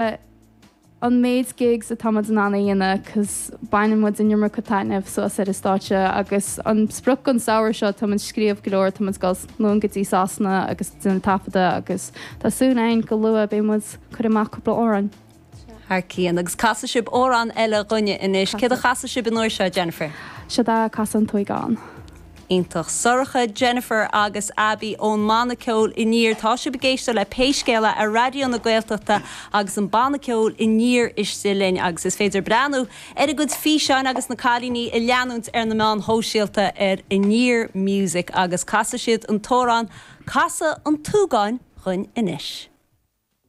An méid gigs atá muid in ann a dhéanamh cos baineann muid an iomarca taitneamh suas ar an stáitse agus an sprioc don samhradh seo tá muid ag scríobh go leor, tá muid ag dul anonn go dtí Sasana agus déanamh taifeadadh agus tá súil againn go luath beidh muid ag cur amach cúpla amhrán. Thar cionn. Agus casfaidh sibh amhrán eile dhúinne anois. Céard a chasfaidh sibh an uair seo, Jennifer? Seo é Casadh an tSúgáin. Iontach. Sorcha, Jennifer agus Abbie ón mbanna ceoil Aniar. Tá sibh ag éisteacht le Pé Scéal É ar Raidió na Gaeltachta agus an banna ceoil Aniar istigh linn agus is féidir breathnú ar a gcuid físeáin agus na cailíní a leanúint ar na meáin shóisialta ar Aniar Music agus casfaidh siad an t-amhrán Casadh an tSúgáin dhúinn anois.